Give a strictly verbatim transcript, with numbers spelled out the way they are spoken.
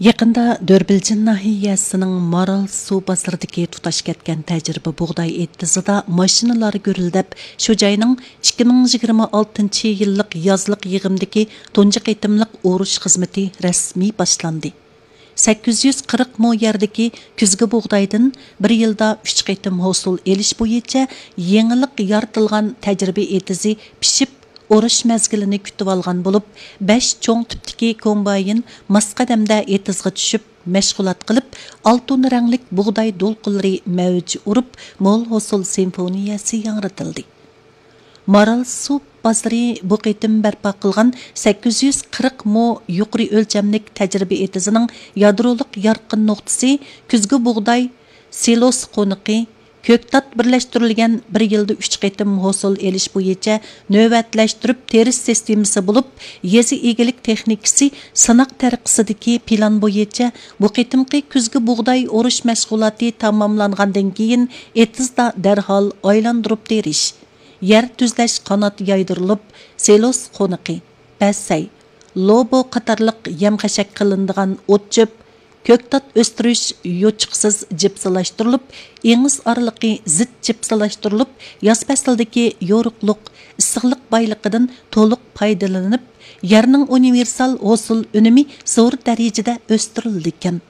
يېقىندا دۆربىلجىن ناھىيەسىنىڭ مارال سۇ بازىرىدىكى تۇتاش كەتكەن تەجرىبە بۇغداي ئېتىزىدا ماشىنىلار گۈرۈلدەپ، شۇ جاينىڭ ئىككى مىڭ يىگىرمە ئالتىنچى يىللىق يازلىق يىغىمدىكى تۇنجى قېتىملىق ئورۇش خىزمىتى رەسمىي باشلاندى. سەككىز يۈز قىرىق مو يەردىكى كۈزگى بۇغدايدىن بىر يىلدا ئۈچ قېتىم ھوسۇل ئېلىش بويىچە يېڭىلىق يارىتىلغان تەجرىبە ئېتىزى پىشىپ، ئورۇش مەزگىلىنى كۈتۈۋالغان بولۇپ، بەش چوڭ تىپتىكى كومباين ماس قەدەمدە ئېتىزغا چۈشۈپ، مەشغۇلات قىلىپ، ئالتۇن رەڭلىك بۇغداي دولقۇنلىرى مەۋج ئۇرۇپ، مول ھوسۇل سىمفونىيەسى ياڭرىتىلدى. مارال سۇ بازىرى بۇ قېتىم بەرپا قىلغان سەككىز يۈز قىرىق مو يۇقىرى ئۆلچەملىك تەجرىبە ئېتىزىنىڭ يادرولۇق يارقىن نۇقتىسى كۈزگى بۇغداي سىلوس قونىقى، كۆكتات بىرلەشتۈرۈلگەن بىر يىلدا ئۈچ قېتىم ھوسۇل ئېلىش بويىچە نۆۋەتلەشتۈرۈپ تېرىش سىستېمىسى بولۇپ، يېزا ئىگىلىك تېخنىكىسى سىناق تەرىقىسىدىكى پىلان بويىچە بۇ قېتىمقى كۈزگى بۇغداي ئورۇش مەشغۇلاتى تاماملانغاندىن كېيىن، ئېتىزدا دەرھال ئايلاندۇرۇپ تېرىش، يەر تۈزلەش قانات يايدۇرۇلۇپ، سىلوس قونىقى، پەسەي، لوبو قاتارلىق يەم-خەشەك قىلىنىدىغان ئوت-چۆپ، كۆكتات ئۆستۈرۈش يوچۇقسىز جىپسىلاشتۇرۇلۇپ، ئېڭىز ئارىلىقى زىت جىپسىلاشتۇرۇلۇپ، ياز پەسلىدىكى يورۇقلۇق، ئىسسىقلىق بايلىقىدىن تولۇق پايدىلىنىپ، يەرنىڭ ئۇنىۋېرسال ھوسۇل ئۈنۈمى زور دەرىجىدە ئۆستۈرۈلىدىكەن.